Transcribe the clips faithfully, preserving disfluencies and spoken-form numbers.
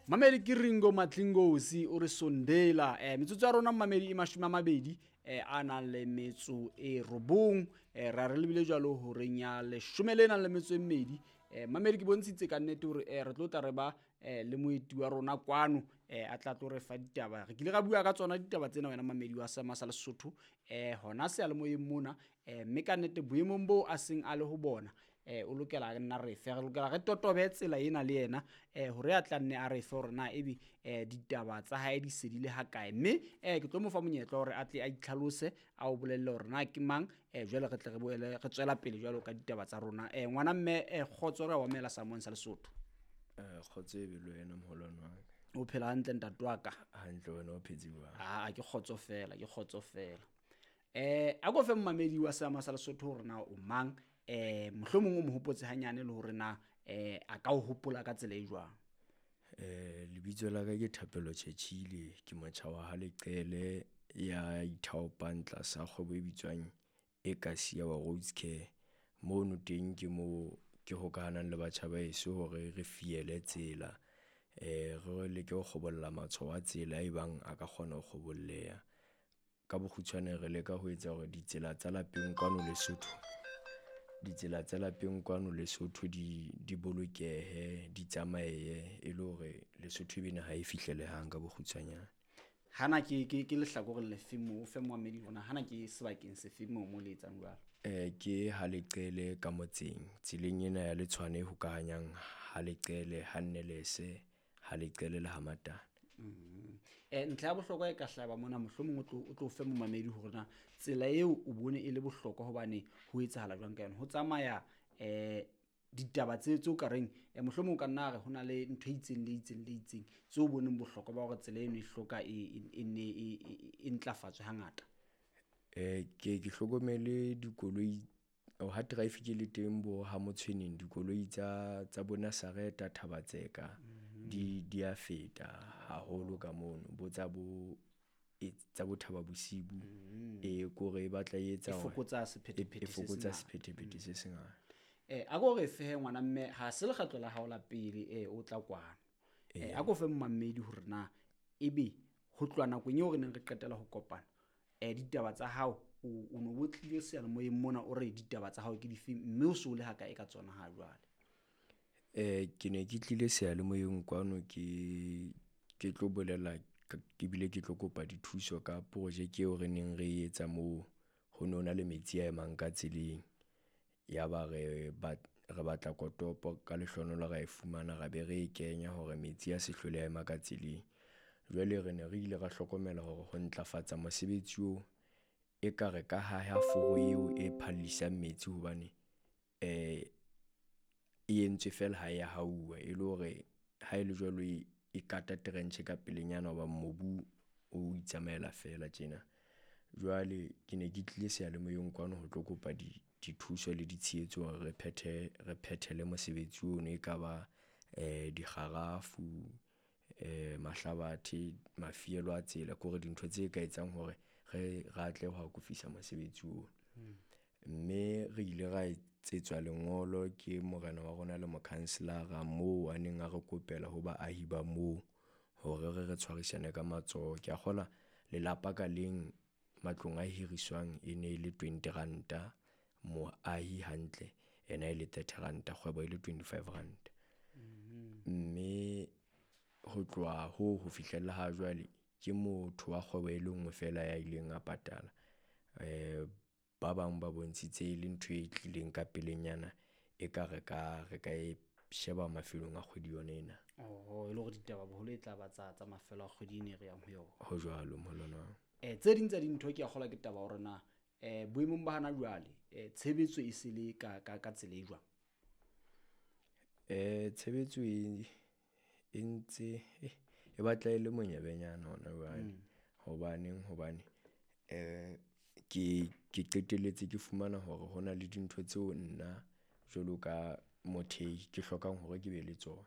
Mamedi ke Ringo Matlingosi o re sondela. Eh metsotso ya rona mamedi e mashome a mabedi eh a nang le metso e robong. Eh ra re lebile jwalo horeng ya leshome le nang le metso e mmedi. Eh mamedi ke bontshitse ka nnete hore eh re tlo tla re ba eh le moeti wa rona kwano eh a tla tlo re fa ditaba. Re kile ra bua ka tsona ditaba tsena wena mamedi wa Seema sa Lesotho eh hona seyalemoyeng mona eh mme ka nnete boemong bo a seng a le ho bona eh o lokela re nna re fe re lokela re totobe tsela ena le yena eh hore a tla nne a re fe hore na ebe eh ditaba tsa hae di se di le hakae. Mme eh ke tlo mo fa monyetla hore a tle a itlhalose a o bolelle hore na ke mang eh jwale re tle re boele re tswela pele jwalo ka ditaba tsa rona. Eh ngwana mme eh kgotso re wa mela Samoeng sa Lesotho. Eh kgotso e be le wena moholwane wa ka. O phela hantle ntate wa ka? Hantle, wena o phetse jwang? Ah, ke kgotso fela, ke kgotso fela. Eh a ko fe mmamedi wa Seema sa Lesotho hore na o mang eh mohlomong o mo hopotse hanyane le hore na eh a ka o hopola ka tsela e jwang. Eh lebitso la ka ke Thapelo Chechile, ke motjha wa ha Leqele ya ithaopang tlasa kgwebo e bitswang Ekasi ya wa Roads Care. Mono teng ke mo ke hokahanang le batjha ba heso hore re fiele tsela, eh re leke ho kgobolla matshwao a tsela e bang a ka kgona ho kgobolleha. Ka bokgutshwane re leka ho etsa hore ditsela tsa lapeng kwano Lesotho, ditsela tsa lapeng kwano Lesotho di di bolokehe, di tsamaye e le hore Lesotho e be naha e fihlelehang ka bokgutshwanyane. Hana ke ke ke lehlakoreng le feng moo, o fe moamedi hore na hana ke sebakeng se feng moo mo le etsang jwalo? Eh ke ha Leqele ka motseng, tseleng ena ya Letshwane e hokahanyang ha Leqele, ha Nnelese, ha Leqele le ha Matana. Mm. Eh ntlha ya bohlokwa e ka hlaba mona mohlomong o tlo o tlo fe momamedi hore na tsela eo o bone e le bohlokwa hobane ho etsahala jwang ka yona. Ho tsamaya eh ditaba tse tseo ka reng eh mohlomong o ka nna re hona le ntho e itseng le itseng le itseng tseo o boneng bohlokwa ba hore tsela eno e hloka e e ne e e ntlafatswe hangata. Eh ke ke hlokomele dikoloi ha traffic e le teng bo ha Motshweneng, dikoloi tsa tsa bo Nazareth, Thabatseka di di a feta haholo ka mono, bo tsa bo tsa bo Thaba Bosiu e kore e batla e etsa e fokotsa sephethephethe e fokotsa sephethephethe se sengata. Eh a ko re fehe ngwana mme ha se lekgetlo la hao la pele eh o tla kwano. Eh a ko fe mmamedi hore na ebe ho tloha nakong eo re neng re qetela ho kopana eh ditaba tsa hao o no bo tlile seyalemoyeng mona o re ditaba tsa hao ke dife mme o so le hakae ka tsona ha jwale? Eh ke ne ke tlile seyalemoyeng kwano ke ke tlo bolela ke bile ke tlo kopa dithuso ka projeke eo re neng re etsa moo. Ho no na le metsi a emang ka tseleng, ya ba re re batla kotopo ka lehlohonolo ra e fumana, ra be re e kenya hore metsi a se hlole a ema ka tseleng. Jwale re ne re ile ra hlokomela hore ho ntlafatsa mosebetsi oo e ka re ka haha foro eo e phallisang metsi hobane eh e entswe fela ha ya hauwa, e le hore ha e le jwalo e kata trench ka pelenyana hoba mobu o itsamaela fela tjena. Jwale ke ne ke tlile seyalemoyeng kwano ho tlo kopa di dithuso le ditshehetso hore re phethe re phethele mosebetsi ono, e ka ba eh dikgarafu, eh mahlabathe, mafielo a tsela, ke hore dintho tse ka etsang hore re re atlehe ho akofisa mosebetsi ono. Mme re ile ra etsetswa lengolo ke morena wa rona le mokhanselara moo a neng a re kopela ho baahi ba moo hore re re tshwarisane ka matsoho. Ke a kgolwa lelapa ka leng matlong a hiriswang e ne e le twenty ranta moahi hantle, ena e le thirty ranta, kgwebo e le twenty-five ranta. Mme ho tloha hoo ho fihlella ha jwale ke motho wa kgwebo e le nngwe fela ya ileng a patala. Eh ba bang ba bontshitse e le ntho e tlileng ka pelenyana, e ka re ka re ka e sheba mafelong a kgwedi yona ena. Oh, e le hore ditaba boholo e tla ba tsa tsa mafelo a kgwedi ena e re yang ho yona. Ho jwalo moholwane wa. Eh tse ding tsa dintho ke a kgolwa ke taba hore na eh boemong ba hana jwale eh tshebetso e se le ka ka ka tsela e jwang? Eh tshebetso e e ntse e batla e le monyebenyana hona jwale. Hobaneng hobane eh ke ke qetelletse ke fumana hore hona le dintho tseo nna jwalo ka mothehi ke hlokang hore ke be le tsona,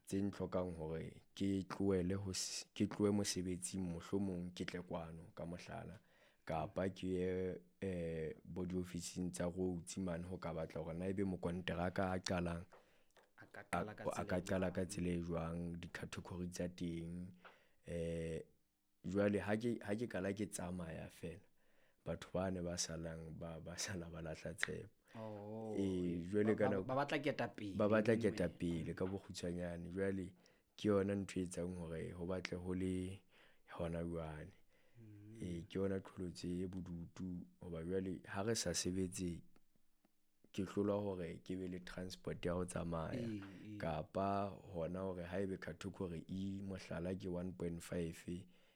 tse ntlhokang hore ke tlohele ho ke tlohe mosebetsing mohlomong ke tle kwano ka mohlala, kapa ke ye eh bo diofising tsa roads mane ho ka batla hore na ebe mokonteraka a qalang ka a qala ka a tsela ka e qala jwang. ka tsela e jwang, di-category tsa teng. Eh jwale ha ke ha ke qala ke tsamaya fela, batho ba ne ba salang ba ba sala ba lahla tshepo. Oh, Ee, jwale ba ka ba nako ba batla ketapele ba batla mme. ketapele ka bokgutshwanyane. Jwale ke yona ntho e etsang hore ho batle ho le hona jwale. Ee, ke yona qholotso e bodutu hoba jwale ha re sa sebetse, ke hlolwa hore ke be le transport ya ho tsamaya Ee, ee. kapa hona hore haebe category E mohlala ke one point five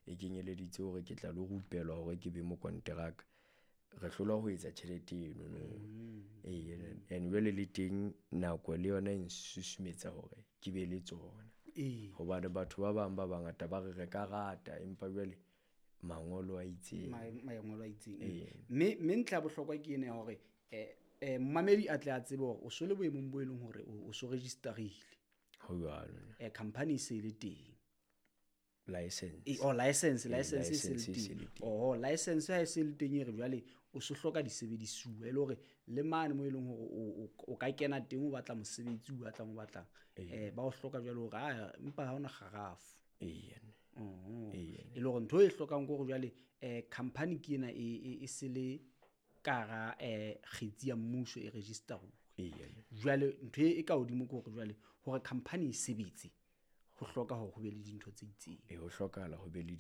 e kenyeleditse hore ke tla lo rupelwa hore ke be mokonteraka, re hlolwa ho etsa tjhelete eno no. Ee, and jwale le teng nako le yona e nsusumetsa hore ke be le tsona. Ee. Hobane batho ba bang ba bangata ba re re ka rata empa jwale mangolo a itseng. Ma- mangolo a itseng. Ee. Mme mme ntlha ya bohlokwa ke ena ya hore eh eh momamedi a tle a tsebe hore o so le boemong bo e leng hore o o so register-ile. Ho jwalo. Eh company e se le teng. License. E, oh license, Ee, license e se le license e se teng. le teng. Oh, license ha e se le teng e re jwale o so hloka disebedisuwa e le hore le mane mo e leng hore o o o ka kena teng o batla mosebetsi o batlang o batlang. Eh ba o hloka jwale hore ah empa ha hona kgarafu. Ee. Oh. Ee. E le hore ntho e hlokang ke hore jwale eh company ke ena e e e se le ka hara eh kgetsi ya mmuso e register-uwe. Ee. Jwale ntho e ka hodimo ke hore jwale hore company e sebetse ho hloka hore ho be le dintho tse itseng. Ee, ho hlokahala ho be le